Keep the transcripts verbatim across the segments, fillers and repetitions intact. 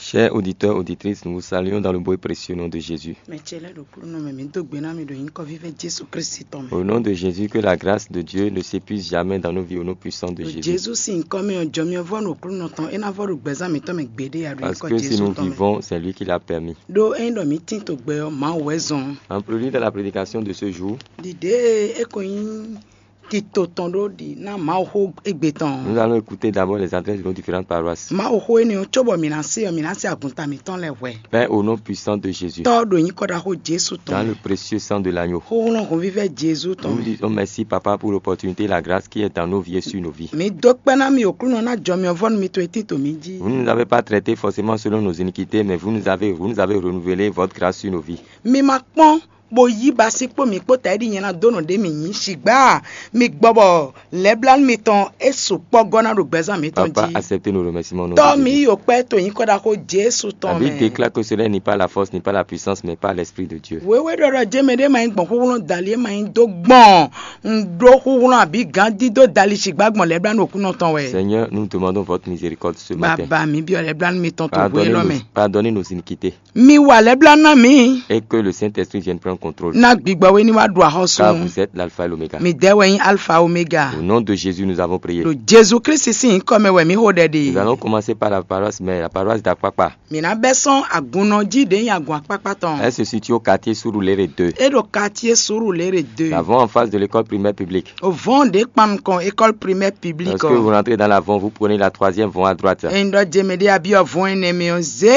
Chers auditeurs, auditrices, nous vous saluons dans le beau et précieux nom de Jésus. Mɛ ce lɛ́ɛ ɖo Aklúnɔ mɛ, mǐ dó gbe ná mi ɖo nyǐkɔ vívɛ́ Jésù Kristi tɔn mɛ. Au nom de Jésus, que la grâce de Dieu ne s'épuise jamais dans nos vies au nom puissant de Ɖo Jésus. Jésù sín nyǐkɔ mɛ ɔ́, jɔmyɔvɔ́ nɔ Aklúnɔ tɔn, é ná vɔ ɖo gbɛzán mǐtɔn mɛ gbeɖé a ɖo Parce nyǐkɔ que si Jésù nous tɔn mɛ. Vivons, c'est lui qui l'a permis. Ɖó ényí ɖɔ mǐ tín to gbɛ ɔ́, Mawu wɛ zɔn. En prélude à la prédication de ce jour, Ɖiɖe e ko nyí tito tɔn ɖó ɖi ná Mawu xó égbé tɔn. nous allons écouter d'abord les adresses de nos différentes paroisses. Mawu xó énɛ́ ɔ́, cóbɔ mǐ ná se ɔ́, mǐ ná se agunta mǐtɔn lɛ́ɛ hwɛ. Père, au nom puissant de Jésus, Tɔ́ ɖo nyǐkɔ ɖaxó Jésù dans tɔn le mɛ. Précieux sang de l'agneau, Xóxlɔ́n hɔnvívɛ́ Jésù tɔn nous vous mɛ. Disons merci, Papa, pour l'opportunité et la grâce qui est dans nos vies et sur nos vies. Mǐ dó kpɛ́ ná mi Aklúnɔ ná jɔmyɔvɔ́ nú mitɔn e tín to mǐ jí. Vous ne nous avez pas traités forcément selon nos iniquités, mais vous nous avez, vous nous avez renouvelé votre grâce sur nos vies. Mi ma kpɔ́n bo yí ba sí kpó mǐ kpó ta é ɖi nyɛ ná dó nɔ ɖé mǐ nyí. Sigbá mi gbɔ bɔ lɛblánú mitɔn é sukpɔ́ gɔ́ ná ɖo gbɛzán mǐtɔn Papa, jí. Acceptez nos remerciements au nom Tɔ́ de mi Jésus. Yi kpɛ́ to nyǐkɔ ɖaxó Jésù La tɔn Bible mɛ. Déclare que cela n'est pas la force, n'est pas la puissance, mais par l'Esprit de Dieu. Wéwé ɖɔ ɖɔ jé mɛ ɖé ma nyí gbɔn xúxlú dali é ma nyí dó gbɔn un ɖó xúxlú abǐ gán dídó dali sigbá gbɔn lɛblánú Aklúnɔ tɔn wɛ. Seigneur, nous demandons votre miséricorde ce matin. Baba mi byɔ́ lɛblánú mitɔn to hwé Pardonnez lɔ nos, mɛ. Pardonnez nos iniquités Mi wa lɛblánú ná mi. Et que le Saint-Esprit vienne prendre contrôle. Ná gbigbɔ wé ní wá ɖu axɔ́sú. Car vous êtes l'alpha et l'oméga. Mi dɛ́ wɛ nyí alfa omega. Au nom de Jésus, nous avons prié. Ɖo Jésù Kristi sín nyǐkɔ mɛ wɛ mǐ xo ɖɛ Nous ɖe. Allons commencer par la paroisse mère, la paroisse d'Akpakpa. Mǐ ná bɛ́ sɔ́n agunnɔ jí ɖě nyí agun akpákpá tɔn. Elle se situe au quartier Surulere deux. É ɖo quartier Surulere deux. Nous avons en face de l'école primaire publique. O vɔ́n ɖě kpan nukɔn école primaire publique Lorsque vous ɔ. Rentrez dans la vente, vous prenez la troisième vente à droite. Ényí ɖɔ jemɛ ɖé abíɔ vɔ́n énɛ́ mɛ ɔ zé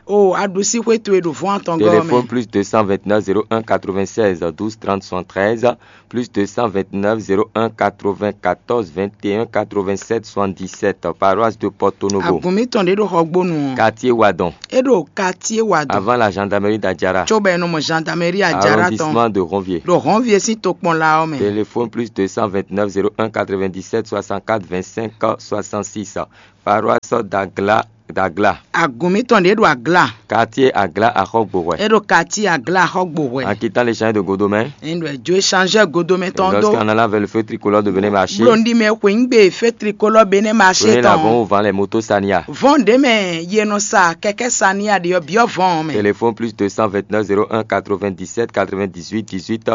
o aɖusíxwé towe ɖo vɔ́n atɔngɔ́ Téléphone mɛ. Plus deux cent vingt-neuf zéro un quatre-vingt-seize douze trente soixante-treize, plus deux cent vingt-neuf zéro un quatre-vingt-quatorze vingt et un quatre-vingt-sept soixante-dix-sept, paroisse de Porto Novo. Agun mǐtɔn ɖě ɖo Xɔgbónu ɔ. Quartier Wadon, É ɖo quartier Wadon. Avant la gendarmerie d'Adjara. Tso bɔ è nɔ mɔ gendarmerie Adjara tɔn. Arrondissement de Ronvier. Ɖo Ronvier sín tokpɔnla ɔ́ mɛ. Téléphone plus deux cent vingt-neuf zéro un quatre-vingt-dix-sept soixante-quatre vingt-cinq soixante-six. Paroisse d'Agla, d'Agla. Agun mǐtɔn ɖě ɖo Agla. Quartier Agla Axɔgbohwɛ. É ɖo quartier Agla Xɔgbohwɛ. En quittant les champs de Godomé. Ényí ɖɔ è jó échangeur Godomé Et tɔn ɖó. Lorsqu'en allant vers le feu tricolore de Bénin Marché, Blondin mɛ xwe ŋgbe fé tricolore Bénin Marché prenez l'avant tɔn. Au vent les motos Sania. Vɔn ɖě mɛ yě nɔ sa kɛkɛ Sania ɖě ɔ́ byɔ́ vɔn mɛ. Téléphone plus deux cent vingt-neuf zéro un quatre-vingt-dix-sept quatre-vingt-dix-huit dix-huit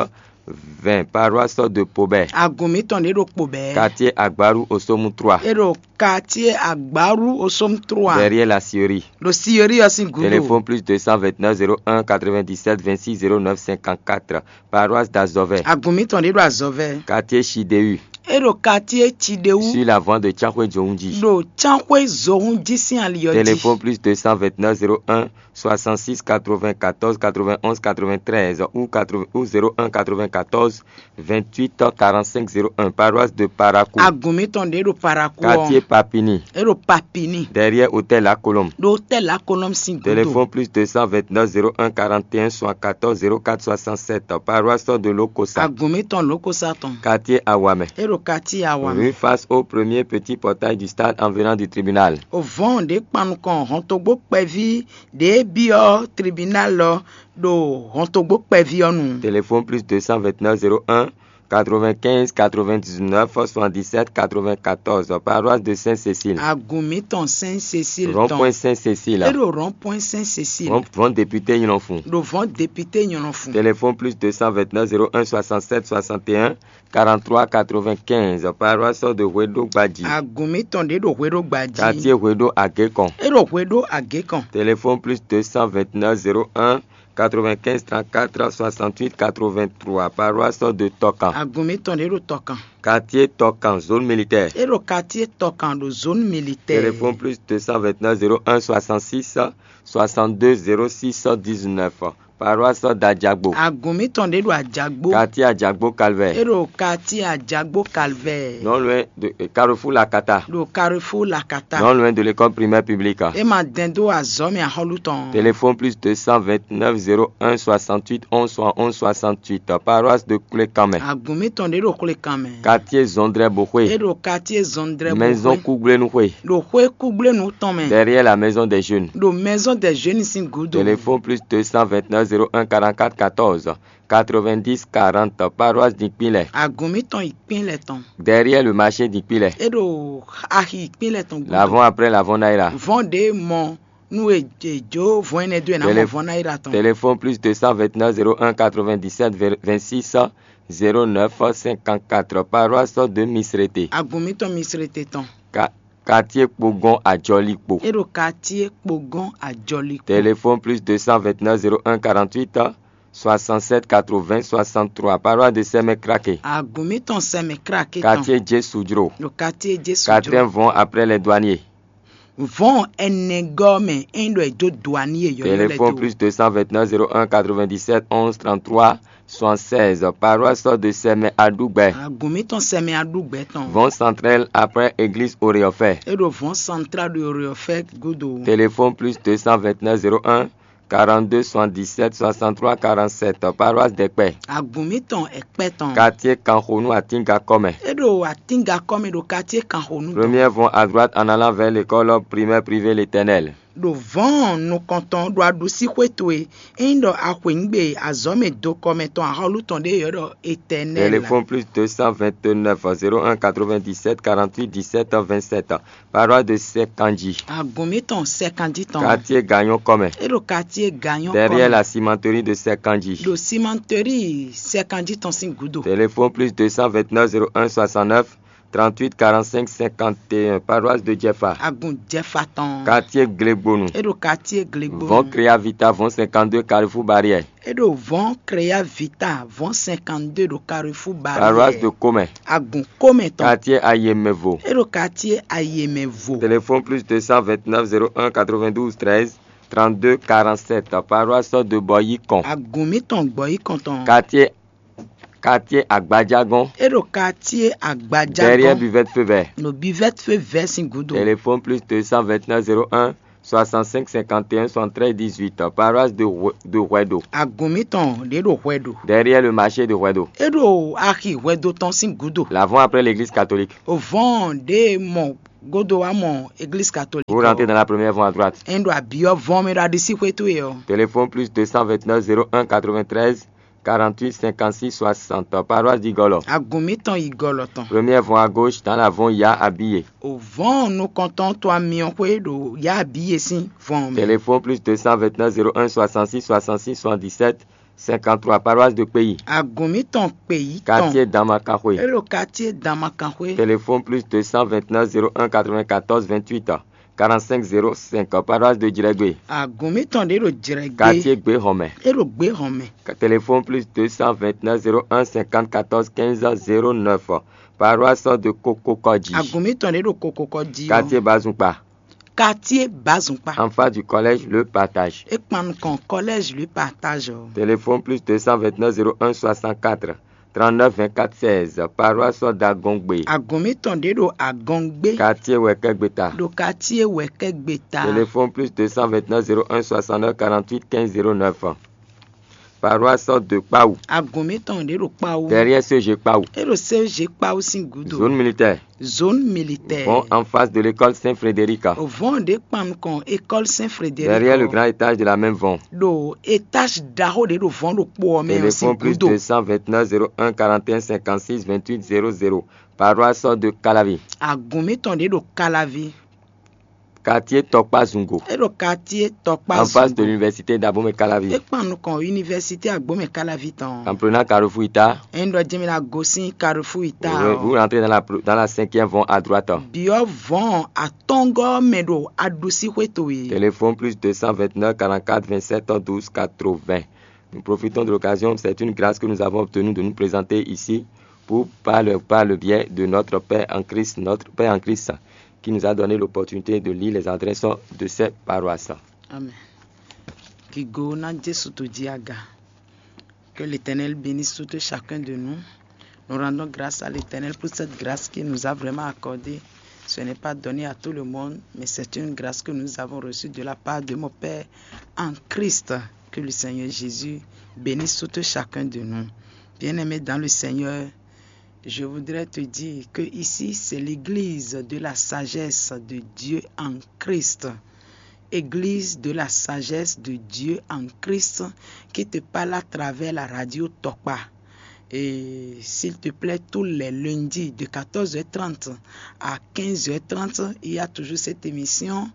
vingt. Paroisse de Pobé. Agun mǐtɔn ɖě ɖo kpo bɛɛ. Quartier Agbaru Osomu trois. É ɖo quartier Agbaru Osomu trois. Derrière la scierie. Ɖo scierie ɔ́ sín Téléphone gudo. Plus deux cent vingt-neuf zéro un quatre-vingt-dix-sept vingt-six zéro neuf cinquante-quatre. Paroisse d'Azovais. Agun mǐtɔn ɖě ɖo Azɔvɛ. Quartier Chideu. É ɖo quartier Tidewu. Sur la voie de Tchakwe Djoundji. Ɖo Tsanxwé Zohun jí sín ali ɔ́ Téléphone jí. Plus deux cent vingt-neuf zéro un soixante-six quatre-vingt-quatorze quatre-vingt-onze quatre-vingt-treize ou quatre-vingts ou zéro un quatre-vingt-quatorze vingt-huit quarante-cinq zéro un. Paroisse de Parakou. Agun mǐtɔn ɖě ɖo Parakou Quartier ɔ́. Papini. É ɖo Papini. Derrière Hôtel La Colombe. Ɖo Hôtel La Colombe sín gudo. Téléphone plus deux cent vingt-neuf zéro un quarante et un soixante-quatorze zéro quatre soixante-sept. Paroisse de Lokosa. Agun mǐtɔn Lokosa tɔn. Quartier Awamé. É ɖo quartier Awamé. Rue face au premier petit portail du stade en venant du tribunal. O vɔn ɖě kpan nukɔn hɔntogbó kpɛví ɖě byɔ́ tribunal ɔ́ ɖo hɔntogbó kpɛví ɔ́ nu. Téléphone plus deux cent vingt-neuf zéro un quatre-vingt-quinze quatre-vingt-dix-neuf soixante-dix-sept quatre-vingt-quatorze. Paroisse de Sainte-Cécile. Agun mǐtɔn Sainte Cécile Rond-point tɔn. Sainte-Cécile. É ɖo rond-point Sainte Cécile. Rond, rond député Yinlonfou. Ɖo vɔn député Nyɔlɔnfun. Téléphone plus deux cent vingt-neuf zéro un soixante-sept soixante et un quarante-trois quatre-vingt-quinze. Paroisse de Hwedo Gbadji. Agun mǐtɔn ɖě ɖo Hweɖó Gbadji. Quartier Hwedo Agékon. É ɖo Hweɖó Agékon. Téléphone plus deux cent vingt-neuf zéro un quatre-vingt-quinze trente-quatre soixante-huit quatre-vingt-trois. Paroisse de Tokan. Agun mǐtɔn ɖě ɖo Tɔkan. Quartier Tokan, zone militaire. É ɖo quartier Tɔkan ɖo zone militaire. Téléphone plus deux cent vingt-neuf zéro un soixante-six soixante-deux zéro six dix-neuf. Paroisse d'Adjagbo. Agun mǐtɔn ɖě ɖo Ajagbo. Quartier Adjagbo É Calvaire. ɖo quartier Ajagbo Calvaire. Non loin de euh, Carrefour Lakata. Ɖo carrefour Lakata. Non loin de l'école primaire publique. É ma dɛn dó azɔ̌ mɛ axɔ́lú tɔn. Téléphone plus deux cent vingt-neuf zéro un soixante-huit onze soixante-onze soixante-huit. Paroisse de Koulékamé. Agun mǐtɔn ɖě ɖo xwlekan mɛ. Quartier Zondré É Bohoué. Ɖo quartier Zɔndrɛ Maison Kougblé Nouhoué. Ɖo xwé Kúgblé nǔ tɔn mɛ. Derrière la maison des jeunes. Ɖo maison des jeunes sín gúdo. Téléphone plus deux cent vingt-neuf zéro un quarante-quatre quatorze quatre-vingt-dix quarante. Paroisse d'Ikpilé. Agun mǐtɔn yi kpín lɛ tɔn. Derrière le marché d'Ikpilé. É ɖo axi yi kpín lɛ tɔn gúdo. L'avant après l'avant Naira. Vɔn ɖě mɔ Nú è è jó vɔ̌n énɛ́ dó e ná mɔ Télé- vɔ̌n ná yi ɖa tɔn. Téléphone plus deux cent vingt-neuf zéro un quatre-vingt-dix-sept vingt-six zéro neuf cinquante-quatre, paroisse de Misrete. Agun mǐtɔn Misrete tɔn. Ka- Quartier Kpogon Ajɔlikpo. É ɖo quartier Kpogon Ajɔlikpo. Téléphone plus deux cent vingt-neuf zéro un quarante-huit soixante-sept quatre-vingts soixante-trois, paroisse de Sɛmɛ Krake. Agun mǐtɔn Sɛmɛ Krake tɔn. Quartier Jésudro. Ɖo quartier Jésudro. Quatrième vɔn après les douaniers. Vɔn ɛnɛgɔ́ mɛ é nyí ɖɔ è dó douanier yɔ̌yɔ́ lɛ́ɛ Téléphone dó. Plus deux cent vingt-neuf zéro un quatre-vingt-dix-sept onze trente-trois soixante-seize, paroisse de Sɛmɛ Aɖugbɛ. Agun mǐtɔn Sɛmɛ Aɖugbɛ tɔn. Vɔn centrale après église Oreofɛ. É ɖo vɔn central ɖo Oreofɛ gúdo. Téléphone plus deux cent vingt-neuf zéro un quarante-deux soixante-dix-sept soixante-trois quarante-sept, paroisse Dɛkpɛ. Agun mǐtɔn Ɛkpɛ tɔn. Quartier Kanxonu Atingakɔmɛ. É ɖo Atingakɔmɛ ɖo quartier Kanxonu tɔn. Première vont à droite en allant vers l'école primaire privée l'Éternel. Ɖo vɔ̌n nukɔntɔn ɖo aɖusíxwé towe, é nyí ɖɔ a xweyǐgbe azɔ̌mɛ dokɔmɛ tɔn axɔ́lú tɔn ɖé yɔ̌ ɖɔ Éternel. Téléphone plus deux cent vingt-neuf zéro un quatre-vingt-dix-sept quarante-huit dix-sept vingt-sept, paroisse de Sɛkanji. Agun mǐtɔn Sɛkanji tɔn. Quartier Gagnon Kɔmɛ. É ɖo quartier Gagnon Derrière Kɔmɛ. La cimenterie de Sɛkanji. Ɖo cimenterie Sɛkanji tɔn sín gǔdo. Téléphone plus deux cent vingt-neuf zéro un soixante-neuf trente-huit quarante-cinq cinquante et un, paroisse de Jɛfa. Agun Jɛfa tɔn. Quartier Glegbonu. É ɖo quartier Glegbonu. Vɔn Créa Vita, vɔn cinquante-deux Carrefour Barrière. É ɖo vɔn Créa Vita, vɔn cinquante-deux ɖo Carrefour Barrière. Paroisse de Comɛ. Agun Comɛ tɔn. Quartier Ayemɛvo. É ɖo quartier Ayemɛvo. Téléphone plus deux cent vingt-neuf zéro un quatre-vingt-douze treize trente-deux quarante-sept, paroisse de Bɔyikɔn. Agun mǐtɔn Gbɔyikɔn tɔn. Quartier Quartier Agbadjagɔn. É ɖo quartier Agbadjagɔn. Derrière Buvette Feu Vert. Ɖo Buvette Feu Vert sín gúdo. Téléphone plus deux cent vingt-neuf zéro un soixante-cinq cinquante et un soixante-treize dix-huit, paroisse de Hue- de Huedo. Agun mǐtɔn ɖě ɖo Hwɛɖo. Derrière le marché de Huedo. É ɖo axi Hwɛdo tɔn sín gúdo. L'avant après l'église catholique. Vɔn ɖě mɔ gúdo wá mɔ église catholique. Vous rentrez dans la première vont à droite. É ɖo abyɔ́ vɔn mɛ ɖo aɖisíxwé towe ɔ́. Téléphone plus deux cent vingt-neuf zéro un quatre-vingt-treize quarante-huit cinquante-six soixante, paroisse d'Igolo. Agun mǐtɔn yi gɔlɔ tɔn. Première vont à gauche dans la vont Ya Abiye. O vɔn nukɔntɔn to amyɔxwé ɖo Ya Abiye sín vɔn mɛ. Téléphone plus deux cent vingt-neuf zéro un soixante-six soixante-six soixante-dix-sept cinquante-trois, paroisse de Kpeyi. Agun mǐtɔn Kpeyi tɔn. Quartier Damakanxwe. É ɖo quartier Damakanxwe. Téléphone plus deux cent vingt-neuf zéro un quatre-vingt-quatorze vingt-huit quarante-cinq zéro cinq, paroisse de Jrɛgbe. Agun mǐtɔn ɖě ɖo Jrɛgbe. Quartier Gbehɔnmɛ. É ɖo Gbehɔnmɛ. Téléphone plus deux cent vingt-neuf zéro un cinquante quatorze quinze zéro neuf, paroisse de Kokokɔji. Agun mǐtɔn ɖě ɖo Kokokɔji. Quartier Bazukpa. Quartier Bazukpa. En face du collège Le Partage. É kpan nukɔn collège Le Partage ɔ́. Téléphone plus deux cent vingt-neuf zéro un soixante-quatre trente-neuf vingt-quatre seize, paroisse d'Agongbe. Agun mǐtɔn ɖě ɖo Agɔngbe. Quartier Wɛkɛgbeta. Ɖo quartier Wɛkɛgbeta. Téléphone plus deux cent vingt-neuf zéro un soixante-neuf quarante-huit quinze zéro neuf. Paroisse de Kpawu. Agun mǐtɔn ɖě ɖo Kpawu. Derrière C G Kpawu. É ɖo C G Kpawu sín gúdo. Zone militaire. Zone militaire. Vɔn en face de l'école Saint-Frédéric. Vɔn ɖě kpan nukɔn école Saint-Frédéric. Derrière le grand étage de la même vɔn. Ɖo étage ɖaxó ɖě ɖo vɔn ɖokpó ɔ́ mɛ ɔ́ sín gúdo. Téléphone plus deux cent vingt-neuf zéro un quarante et un cinquante-six vingt-huit zéro zéro. Paroisse de Calavi. Agun mǐtɔn ɖě ɖo Calavi. Quartier Tɔkpa Zungo. É ɖo quartier Tɔkpa Zungo. En face de l'université d'Abomey Calavi. É kpan nukɔn université Agbomey Calavi tɔn. En prenant Carrefour Ita. É ɖɔ jɛmɛ la gosín Carrefour Ita. Vous, vous rentrez dans la, dans la cinquième vont à droite. Biɔ vɔn atɔngɔ mɛ ɖo aɖusíxwé towe. Téléphone plus deux cent vingt-neuf quarante-quatre vingt-sept douze quatre-vingts. Nous profitons de l'occasion, c'est une grâce que nous avons obtenue de nous présenter ici pour, par le, par le biais de notre Père en Christ, notre Père en Christ, qui nous a donné l'opportunité de lire les adresses de ces paroisses. Amen. Kigo na Jesu to ji aga. Que l'Éternel bénisse tout et chacun de nous. Nous rendons grâce à l'Éternel pour cette grâce qu'il nous a vraiment accordée. Ce n'est pas donné à tout le monde, mais c'est une grâce que nous avons reçue de la part de mon Père en Christ. Que le Seigneur Jésus bénisse tout et chacun de nous. Bien-aimés dans le Seigneur, je voudrais te dire que ici, c'est l'église de la sagesse de Dieu en Christ. Église de la sagesse de Dieu en Christ qui te parle à travers la radio Tokpa. Et s'il te plaît, tous les lundis de quatorze heures trente à quinze heures trente, il y a toujours cette émission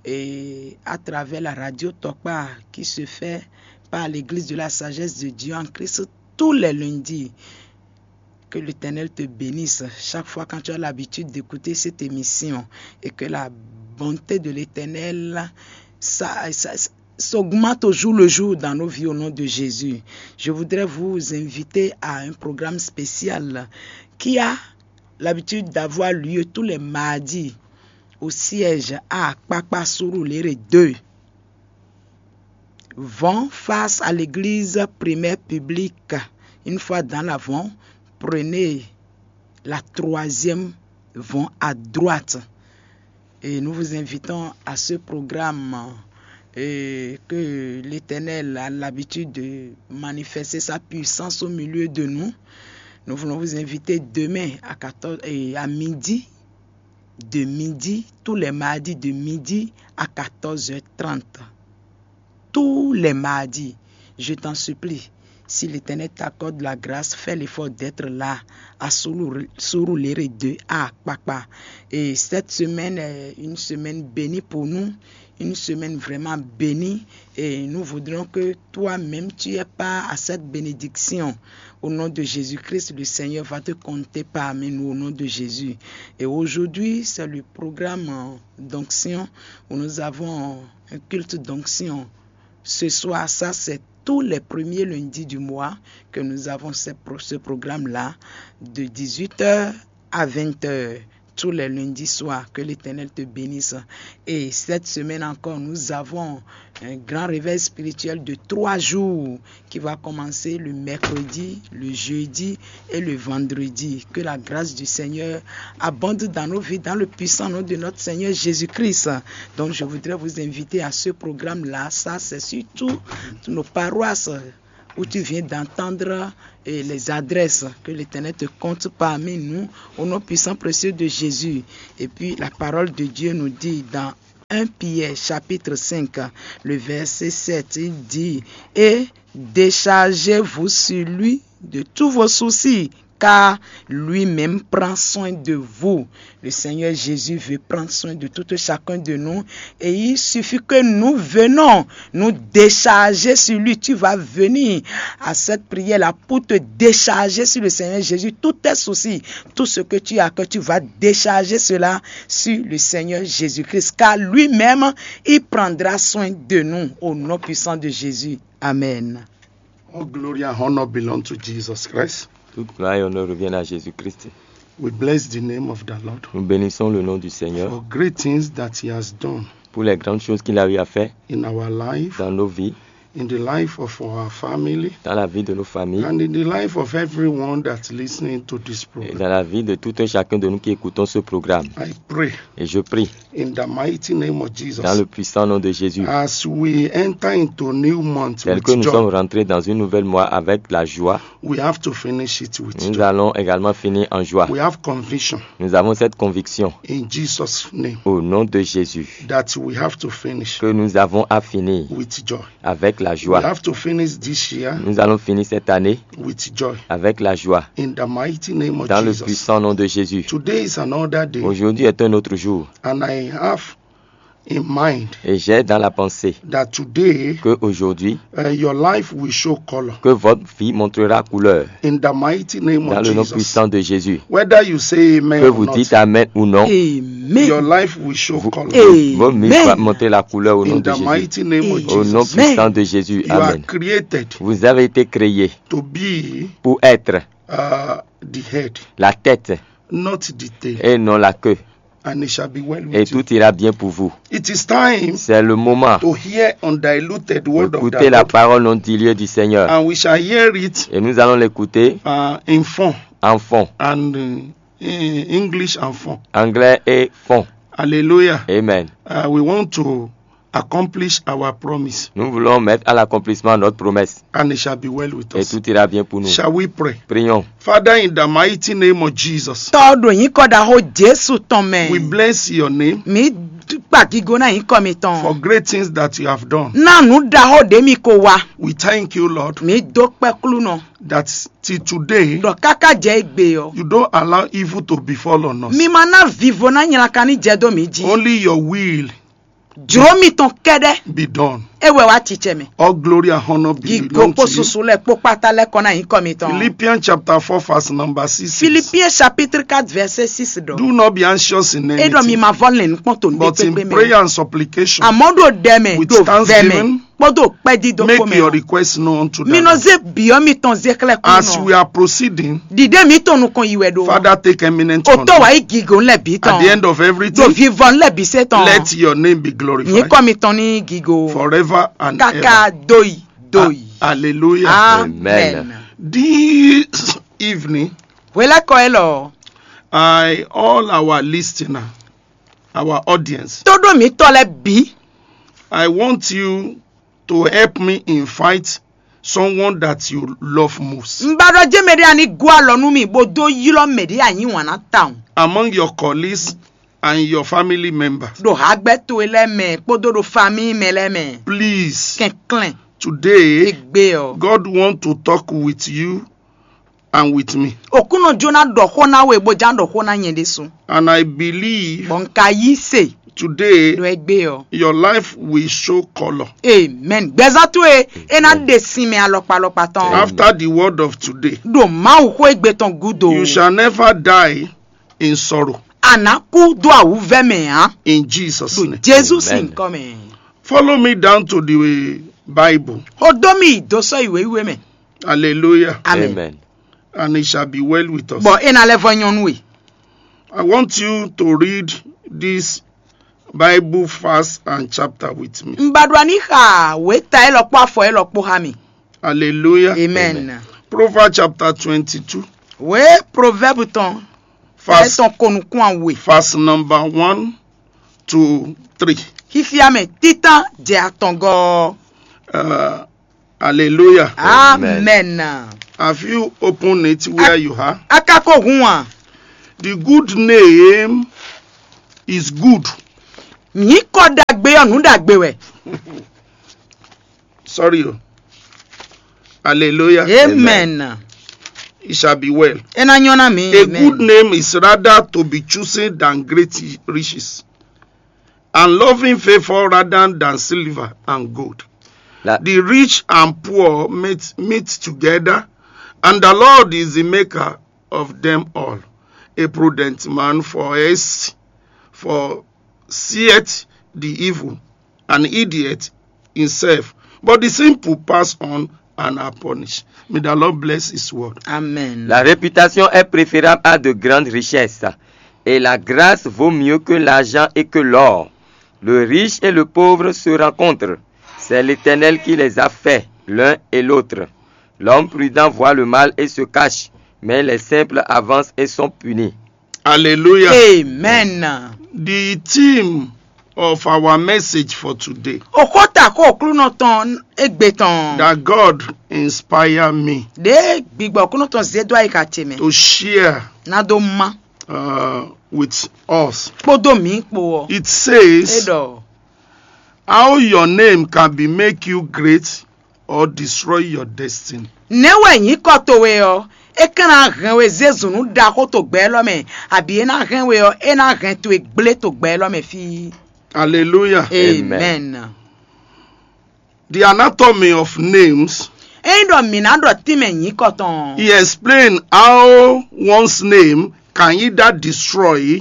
et à travers la radio Tokpa qui se fait par l'Église de la Sagesse de Dieu en Christ tous les lundis. Que l'Éternel te bénisse chaque fois quand tu as l'habitude d'écouter cette émission et que la bonté de l'Éternel ça, ça, s'augmente au jour le jour dans nos vies au nom de Jésus. Je voudrais vous inviter à un programme spécial qui a l'habitude d'avoir lieu tous les mardis au siège à Akpakpa Surulere deux. Vont face à l'église primaire publique. Une fois dans l'avant, prenez la troisième vont à droite. Et nous vous invitons à ce programme et que l'Éternel a l'habitude de manifester sa puissance au milieu de nous. Nous voulons vous inviter demain à quatorze et à midi, de midi, tous les mardis de midi à quatorze heures trente. Tous les mardis, je t'en supplie, si l'Éternel t'accorde la grâce, fais l'effort d'être là à Surulere deux à Akpakpa. Et cette semaine est une semaine bénie pour nous, une semaine vraiment bénie. Et nous voudrions que toi-même, tu aies part à cette bénédiction. Au nom de Jésus-Christ, le Seigneur va te compter parmi nous au nom de Jésus. Et aujourd'hui, c'est le programme d'onction où nous avons un culte d'onction. Ce soir, ça c'est tous les premiers lundis du mois que nous avons ce, pro- ce programme-là, de dix-huit heures à vingt heures, tous les lundis soirs. Que l'Éternel te bénisse. Et cette semaine encore, nous avons un grand réveil spirituel de trois jours qui va commencer le mercredi, le jeudi et le vendredi. Que la grâce du Seigneur abonde dans nos vies, dans le puissant nom de notre Seigneur Jésus-Christ. Donc, je voudrais vous inviter à ce programme-là. Ça, c'est surtout nos paroisses où tu viens d'entendre et les adresses que l'Éternel te compte parmi nous, au nom puissant précieux de Jésus. Et puis la parole de Dieu nous dit dans un Pierre chapitre cinq, le verset sept, il dit, et déchargez-vous sur lui de tous vos soucis, car lui-même prend soin de vous. Le Seigneur Jésus veut prendre soin de tout chacun de nous et il suffit que nous venons nous décharger sur lui. Tu vas venir à cette prière-là pour te décharger sur le Seigneur Jésus, tous tes soucis, tout ce que tu as, que tu vas décharger cela sur le Seigneur Jésus-Christ, car lui-même, il prendra soin de nous au nom puissant de Jésus. Amen. All glory and honor belong to Jesus Christ. Toute gloire et honneur reviennent à Jésus-Christ. We bless the name of the Lord Nous bénissons le nom du Seigneur for great things that he has done pour les grandes choses qu'il a eu à faire in our life, dans nos vies, in the life of our family, dans la vie de nos familles, and in the life of everyone that's listening to this et program. Dans la vie de tout un chacun de nous qui écoutons ce programme. I pray Et je prie in the mighty name of Jesus. Dans Le puissant nom de Jésus. As we enter into a new month Tel with que nous joy, sommes rentrés dans une nouvelle mois avec la joie, we have to finish it with nous joy. Allons également finir en joie. We have conviction Nous avons cette conviction in Jesus' name au nom de Jésus that we have to finish que nous avons à finir with joy. Avec la We joie. Have to finish this year Nous allons finir cette année with joy avec la joie. In the mighty name of Dans Jesus. Le puissant nom de Jésus. Today is another day. Aujourd'hui est un autre jour. And I have in mind Et j'ai dans la pensée that today, que aujourd'hui, uh, your life will show color. Que votre vie montrera couleur. In the mighty name of Jesus. Dans le nom puissant de Jésus. Whether you say amen or not, que vous dites amen ou non, Amen. Your life will show color. Amen. Votre vie va montrer la couleur au nom de Jésus. In the mighty name of Jesus. Au nom puissant de Jésus. Amen. You are created. Vous avez été créé to be, pour être, uh, the head, la tête, not the tail, et non la queue. And it shall be well with you. Et tout ira bien pour vous. It is time. C'est le moment to hear undiluted word of the Lord. Écoutez la parole non diluée du Seigneur. And we shall hear it. Et nous allons l'écouter, uh, in fon, en fon, and, uh, in English and fon. Anglais et fon. Hallelujah. Amen. Uh, we want to accomplish our promise, Nous voulons mettre à l'accomplissement notre promesse. And it shall be well with Et us. Tout ira bien pour nous. Shall we pray? Prions. Father, in the mighty name of Jesus, Tɔ́ ɖo nyǐkɔ ɖaxó Jesu tɔn mɛ. We bless your name Mi kpa gigo ná nyǐkɔ mitɔn. For great things that you have done. Ná nǔ ɖaxó ɖě mi ko wa. We thank you, Lord, Mi dó kpɛ́ klúnɔ. That till today, Ɖɔ káká jɛ égbé ɔ. You don't allow evil to befall on us. Mi ma ná vivo ná nylaka ní jɛ dó mi jí. Only your will Jlǒ mitɔn kɛ́ɖɛ́ be done. É wɛ wá cicɛ mɛ. All glory and honor be Gigo belong kpó to you. Susu lɛ kpó kpátá lɛ kɔ ná nyǐkɔ mitɔn. Philippians chapter four, verse number six says, Philippiens chapitre quatre verset six ɖɔ. Do not be anxious in É ɖɔ mi anything, ma vɔ lɛn nukpɔn tó but in ɖékpékpé prayer mɛ. And supplication, Àmọ́ ɖo ɖɛ mɛ with ɖo vɛ mɛ thanksgiving, kpódó kpɛ́dídó kpó Make your mɛ. Request known to Mi nɔ them. zé bǐ ɔ́ mitɔn zé xlɛ́ kú As we nɔ. Are proceeding, Ɖiɖé mitɔn nukɔn yi wɛ ɖo. Father, take eminent O honor. Tó wá yí gígó lɛ́ bǐ At the tɔn. End of Ɖo everything, vivɔ lɛ́ bǐ sé tɔn. Let your name be glorified. Nyǐkɔ mitɔn ní gígó. Forever and Káká ever. Dóyi dóyi. Hallelujah. Amen. This evening, Hwelɛ́kɔ élɔ́. I all our listener, our audience, Tó ɖó mǐtɔn lɛ́ bǐ. I want you to help me invite someone that you love most. Un ba ɖɔ jɛ́n mɛɖé a ní gɔ́ alɔ nú mì bó dó ylɔ́ mɛɖé a nyí wǎn ná tawun. Among your colleagues and your family members. Ɖo hagbɛ́ towe lɛ́ɛ mɛ kpódó ɖo famíi mɛ lɛ́ɛ mɛ. Please, Kɛnklɛ́n today, égbé ɔ. God want to talk with you and with me. Òkúnɔ jó ná ɖɔ xó ná we bó já ɖɔ xó ná nyɛ ɖésú. And I believe Bɔ un ka yí se today, ɖo égbé ɔ. Your life will show color. Amen. Gbɛzán towe é ná ɖe sinmɛ alɔkpa alɔkpa tɔn. After the word of today, Ɖo Mawu xó égbé tɔn gúdo. You shall never die in sorrow. A nǎ kú dó awǔvɛ́ mɛ ǎ. In Jesus' Ɖo name. Jezu sin Amen. nyǐkɔ mɛ. Follow me down to the Bible. Xó dó mì yi dó sɔ́ yi wěwíwé mɛ. Hallelujah. Amen. Amen. And it shall be well with us. Bɔ é ná lɛ́ vɔ nyɔ́ nú we. I want you to read this Bible verse and chapter with me. Un ba ɖo aní xa wěta élɔ́ kpó afɔ élɔ́ kpó xá mi. Hallelujah. Amen. Proverbs chapter twenty-two, Wě Proverbe tɔn. Fɛ verse, tɔn ko nukún awe. Verse number one to three. Xífíá mɛ títán jɛ atɔngɔ. Uh, hallelujah. Amen. Have you opened it where you are? Akáko hun a. The good name is good. Nyǐkɔ ɖagbe ɔ́ nǔ ɖagbe wɛ. Sorry. Oh. Hallelujah. Amen. It shall be well. É ná nyɔ́ ná mi. A Amen. Good name is rather to be chosen than great riches, and loving favor rather than silver and gold. La- The rich and poor meet, meet together, and the Lord is the maker of them all. A prudent man foresees, foreseeth the evil, an idiot himself, but the simple pass on and are punished. May the Lord bless his word. Amen. La réputation est préférable à de grandes richesses, et la grâce vaut mieux que l'argent et que l'or. Le riche et le pauvre se rencontrent. C'est l'Éternel qui les a faits, l'un et l'autre. L'homme prudent voit le mal et se cache, mais les simples avancent et sont punis. Hallelujah. Amen. The theme of our message for today, Òkóta kó òklúnɔ tɔn égbé tɔn. that God inspire me Ɖé gbigbɔ òklúnɔ tɔn zé dó ayika ce mɛ. To share Ná dó má. Uh, with us. Kpódó mǐ kpo ɔ. It says, É ɖɔ. How your name can be make you great or destroy your destiny. Nɛ̌ wɛ nyǐkɔ towe ɔ́, é ka ná hɛn we zé zǔnú ɖaxó to gbɛ élɔ́ mɛ, abǐ é ná hɛn we ɔ́, é ná hɛn towe gblé to gbɛ élɔ́ mɛ fí. Hallelujah. Amen. The anatomy of names. Ényí ɖɔ mǐ ná ɖɔ tínmɛ nyǐkɔ tɔn. He explained how one's name can either destroy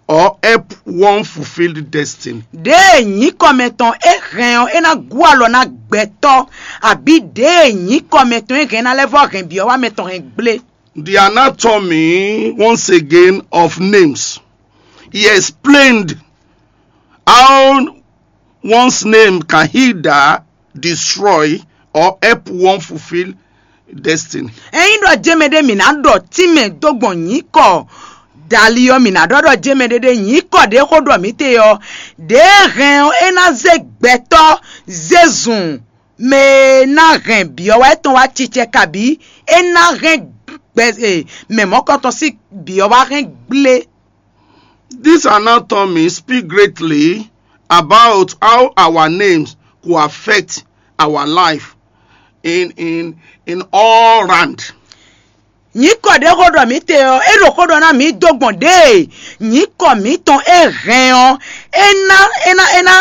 or help one fulfill the destiny. Ɖěe nyǐkɔmɛ tɔn é hɛn ɔ́, é ná gú alɔ ná gbɛtɔ́, abǐ ɖěe nyǐkɔmɛ tɔn é hɛn ná lɛ́ vɔ́ hɛn byɔ̌ wá mɛ tɔn hɛn gblé. The anatomy, once again, of names. He explained how one's name can either destroy or help one fulfill destiny. Ényí ɖɔ jɛmɛ ɖé mǐ ná ɖɔ tínmɛ dó gbɔn nyǐkɔ Dali ɔ́, mǐ ná ɖɔ ɖɔ jɛ́n mɛɖé ɖé nyǐkɔ ɖě xó ɖɔ mǐ te ɔ́, ɖěe hɛn ɔ́, é ná zé gbɛtɔ́ zé zun mɛ e ná hɛn byɔ̌ wá tɔn wá cicɛ kabǐ é ná hɛn gbɛ e mɛ mɔ̌kɔtɔn sín byɔ̌ wá hɛn gblé. This anatomy speak greatly about how our names could affect our life in in in all round. Nyǐkɔ ɖě xó ɖɔ mǐ te ɔ́, é ɖo xó ɖɔ ná mǐ dó gbɔn ɖěe nyǐkɔ mǐtɔn e hɛn ɔ́, é ná é ná é ná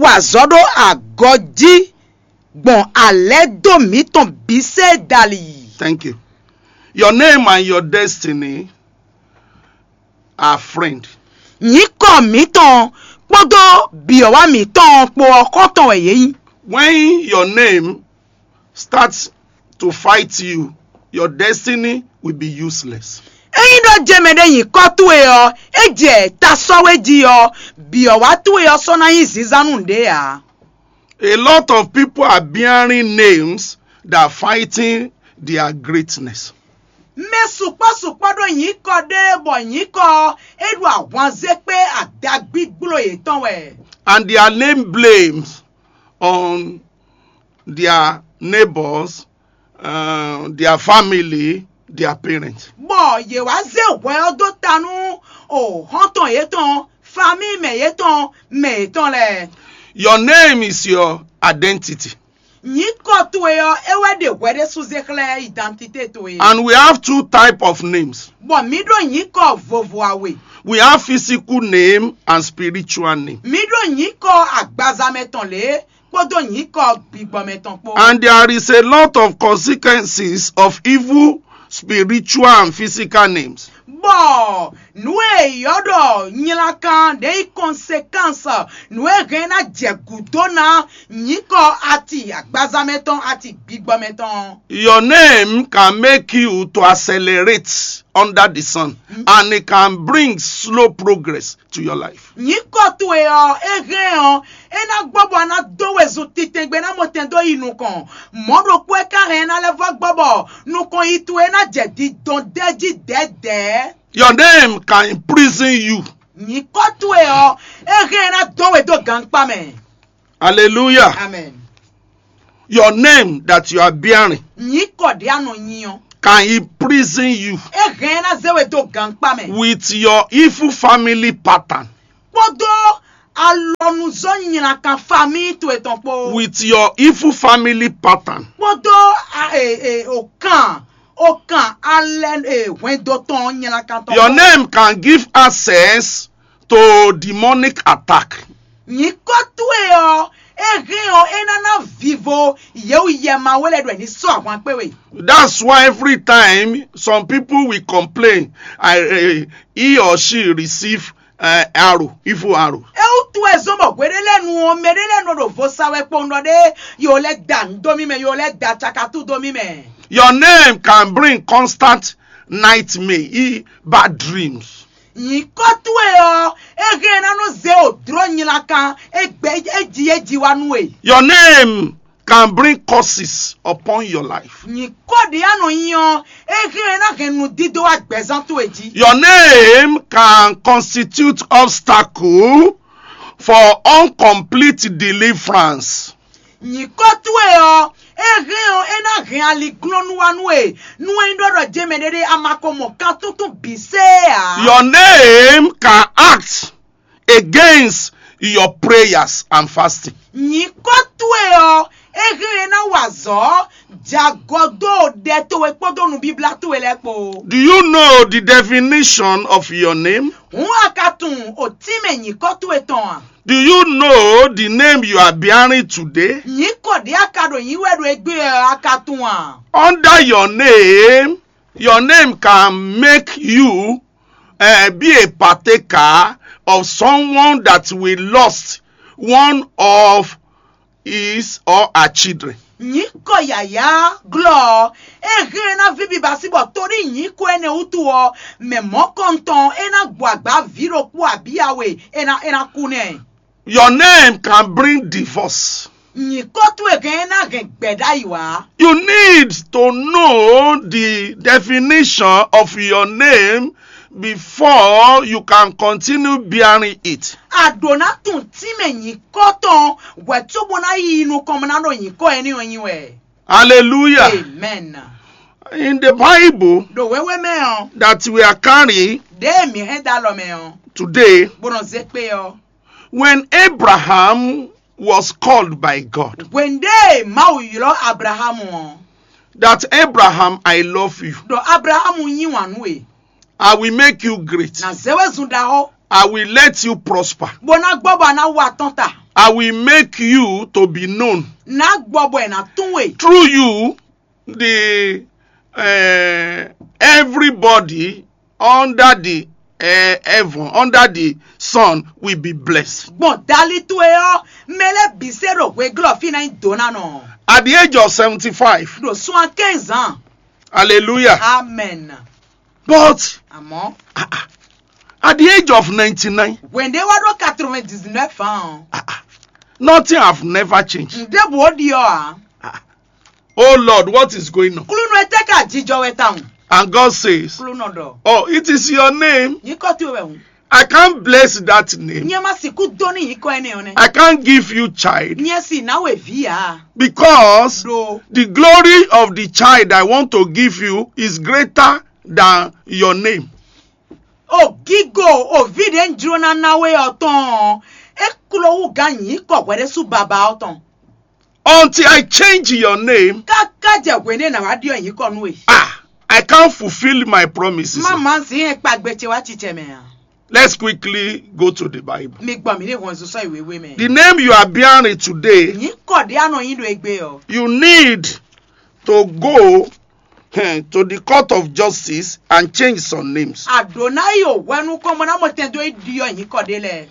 wa azɔ̌ ɖó agɔ jí gbɔn alɛ̌do mǐtɔn bǐ sée dali. Thank you. Your name and your destiny are friend. Nyǐkɔ mǐtɔn kpódó byɔ̌wá mǐtɔn kpó ɔ́ xɔ́ntɔn wɛ yě nyí. When your name starts to fight you, your destiny will be useless. Ényí ɖɔ jɛmɛ ɖé nyǐkɔ towe ɔ́, é jɛ ta sɔ́ we jí ɔ́, byɔ̌wá towe ɔ́ sɔ́ ná nyí zǐnzán nú nǔɖé ǎ. A lot of people are bearing names that are fighting their greatness. Mɛ sukpɔ́ sukpɔ́ ɖó nyǐkɔ ɖé bɔ nyǐkɔ ɔ́ é ɖo ahwanzé kpé adagbígbló yětɔn wɛ. And their name blames on their neighbors, uh, their family, their parents. Bɔ yě wá zé hwɛ ɔ́ dó ta nú o xɔ́ntɔn yětɔn, famíi mɛ yětɔn, mɛ yětɔn lɛ́ɛ. Your name is your identity. Nyǐkɔ towe ɔ́, é wɛ ɖe hwɛ ɖésú zé xlɛ́ identité towe. And we have two type of names. Bɔ mǐ ɖó nyǐkɔ vovo awe. We have physical name and spiritual name. Mǐ ɖó nyǐkɔ agbazamɛ tɔn lě kpódó nyǐkɔ gbigbɔmɛ tɔn kpó. And there is a lot of consequences of evil spiritual and physical names. Bɔ nǔ e yɔ́ ɖɔ nylankan ɖě nyí conséquence, nǔ e hɛn ná jɛ gǔdo ná nyǐkɔ ati agbazamɛ tɔn ati gbigbɔmɛ tɔn. Your name can make you to accelerate under the sun, and it can bring slow progress to your life. Nyǐkɔ towe ɔ́, é hɛn ɔ́, é ná gbɔ bɔ a ná dó wezun titɛngbe ná mɔ tɛn dó yi nukɔn. Mɔ̌ ɖokpó é ka hɛn ná lɛ́ vɔ́ gbɔ bɔ nukɔn yi towe ná jɛ didɔn dɛ́ jí dɛ̌dɛ̌. Your name can imprison you. Nyǐkɔ towe ɔ́, é hɛn ná dó we dó gankpá mɛ. Hallelujah. Amen. Your name that you are bearing Nyǐkɔ ɖě a nɔ nyi ɔ́, can imprison you é hɛn ná zé we dó gankpá mɛ. With your evil family pattern. Kpódó alɔnuzɔ́ nylankan famíi towe tɔn kpó. With your evil family pattern. Kpódó a- e- e- òkan òkan alɛ e- hwɛndo tɔn nylankan tɔn Your kpó. Name can give access to demonic attack. Nyǐkɔ towe ɔ́, é hɛn ɔ́ é ná ná vivo yewu yɛ ma wé lɛ ɖɔ ní sɔ́ ahwan kpé we. That's why every time some people will complain, I, uh, he or she receive uh, arrow, evil arrow. É wútu wɛ zɔ́n bɔ hweɖé lɛ́ɛ nu ɔ́, mɛɖé lɛ́ɛ nɔ ɖo vo sa wɛ kpowun ɖɔ ɖé, yo lɛ́ da nǔ dó mì mɛ, yo lɛ́ da cakatú dó mì mɛ. Your name can bring constant nightmare, e- bad dreams. Nyǐkɔ towe ɔ́, é hɛn ná nɔ zé wò dló nylankan, é gbɛ é ji é ji wá nú we. Your name can bring curses upon your life. Nyǐkɔ ɖě a nɔ nyi ɔ́, é hɛn ná hɛn nǔdídó wá gbɛzán towe jí. Your name can constitute obstacle for incomplete deliverance. Nyǐkɔ towe ɔ́, é hɛn ɔ́, é ná hɛn aliglɔ́nú wá nú we, nú é nyí ɖɔ ɖɔ jɛmɛ ɖé ɖé a ma ko mɔ kan tuntun bǐ sé ǎ. Your name can act against your prayers and fasting. Nyǐkɔ towe ɔ́, é hɛn é ná wa azɔ̌ jagɔ dó ɖɛ towe kpódó nǔbíblá towe lɛ́ɛ kpó. Do you know the definition of your name? Hǔn a ka tunwun òtínmɛ nyǐkɔ towe tɔn a? Do you know the name you are bearing today? Nyǐkɔ ɖě a ka ɖo nyǐ wɛ ɖo égbé ɔ́ a ka tunwun a? Under your name, your name can make you uh, be a partaker of someone that will lost one of his or her children. Nyǐkɔ yǎyá glɔ́ ɔ́, é hɛn ná ví biba sí bɔ torí nyǐkɔ énɛ́ wútu ɔ́, mɛ mɔ̌kɔntɔn é ná gbɔ agbǎ vǐ ɖokpó abǐ awe é ná é ná kú nɛ́. Your name can bring divorce. Nyǐkɔ towe hɛn é ná hɛn gbɛ̌ ɖ'ayǐ wá. You need to know the definition of your name before you can continue bearing it. A ɖǒ ná tunwun tínmɛ nyǐkɔ tɔn hwɛ̌ cóbó ná yi nukɔn bó ná ɖo nyǐkɔ énɛ́ ɔ́ nyi wɛ. Hallelujah. Amen. In the Bible Ɖo wěwé mɛ ɔ́, that we are carrying ɖěe mǐ hɛn dó alɔ mɛ ɔ́, today, bó nɔ zé kpé ɔ́. when Abraham was called by God, Hwenu ɖě Mawu ylɔ́ Abrahamu ɔ́, that Abraham, I love you. ɖɔ Abrahamu yí wǎn nú we. I will make you great. Nǎ zé we zun ɖaxó, I will let you prosper. bó ná gbɔ bɔ a ná wa tɔn ta. I will make you to be known. Ná gbɔ bɔ è nǎ tún we. Through you, the uh, everybody under the uh, heaven, under the sun, will be blessed. Gbɔn dali towe ɔ́, mɛ lɛ́ɛ bǐ se ɖo hweglɔ́ fí ná nyí dǒ ná nɔ. At the age of seventy-five, Ɖo soixante-quinze ans. Hallelujah. Amen. But Àmọ́, at the age of ninety-nine, hwenu ɖě wá ɖó quatre-vingt-dix-neuf ans ɔ́, nothing have never changed. Nǔɖé bǔ ó ɖi ɔ́ ǎ. Oh Lord, what is going on? Klúnɔ etɛ́ ka jijɔ wɛ tawun? And God says, Klúnɔ ɖɔ. Oh, it is your name. Nyǐkɔ towe wɛ hǔn. I can't bless that name. Nyɛ ma sixú dó ní nyǐkɔ énɛ́ ɔ́ nɛ́. I can't give you child Nyɛ sì ná we vǐ ǎ. Because Ɖo the glory of the child I want to give you is greater than your name. O gígo o vǐ ɖě un jló ná ná we ɔ́ tɔn ɔ́, é kló wú gán nyǐkɔ hwɛɖésú baba ɔ́ tɔn. Until I change your name, Káká jɛ hwenu e nǎ wá ɖyɔ́ nyǐkɔ nú we. Ah, I can't fulfill my promises. Má má zǐn e kpagbe ce wá cicɛ mɛ ǎ. Let's quickly go to the Bible. Mi gbɔn mǐ ní hɔn zun sɔ́ yi wěwé mɛ. The name you are bearing today, Nyǐkɔ ɖé a nɔ nyi ɖo egbe ɔ́. You need to go eh, to the court of justice and change some names. Àdó ná yi o hwɛnu kɔn bɔ ná mɔ tɛn dó yi ɖyɔ́ nyǐkɔ ɖé lɛ́ɛ.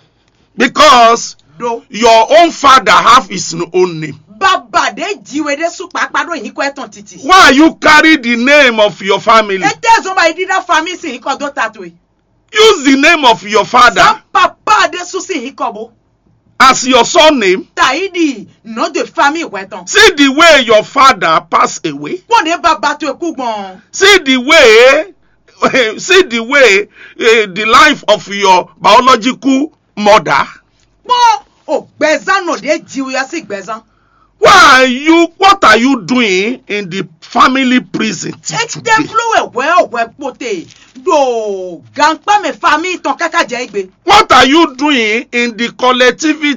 Because Ɖó your own father have his own name. Baba ɖé ji we ɖésú kpakpá ɖó nyǐkɔ etɔn titi. Why are you carry the name of your family? Étɛ́ zɔn ba yi ɖíɖá famille sín nyǐkɔ dó ta towe. Use the name of your father Zɔn papa ɖésú sín nyǐkɔ bó. As your surname. Tayi ɖi nom de famille hwɛ tɔn. See the way your father pass away. Kpɔ́n ɖě baba towe kú gbɔn. See the way, see the way uh, the life of your biological mother. Kpɔ́n o gbɛzán nɔ ɖě ji we ɔ́ sín gbɛzán. Why are you? What are you doing in the family prison till Étɛ́ today? Fló wɛ hwɛ ɔ́ hwɛ kpote ɖo gankpá mɛ famille tɔn káká jɛ égbé. What are you doing in the collectivity